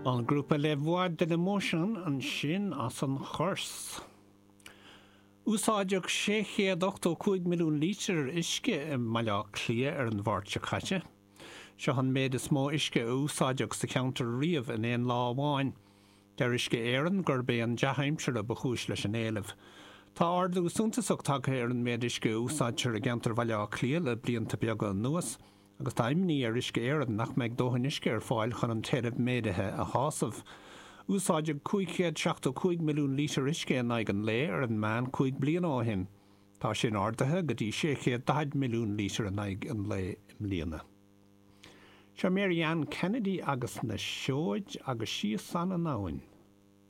An grúpa Les Voix de l'Emotion ansin as an Chorse. Úsáideadh 685 milliún lítear uisce i mBaile Átha Cliath ar an Mháirt seo caite. Seo an méid is mó uisce a úsáideadh sa cheantar riamh in aon lá amháin. Deir Uisce Éireann gurb é an dea-aimsir a ba chúis leis an éileamh. Tá ardú suntasach tagtha ar an méid uisce a úsáidtear i gceantar Bhaile Átha Cliath le blianta beaga anuas agus tá imní ar Uisce Éireann nach mbeidh dóthain uisce ar fáil chun an t-éileamh méadaithe a shásamh. Úsáideadh 575 milliún lítear uisce in aghaidh an lae ar an meán 5 bliana ó shin. Tá sin ardaithe go dtí 640 milliún lítear in aghaidh an lae i mbliana. Seo Mary Ann Kennedy agus na Seoid agus síos san an abhainn.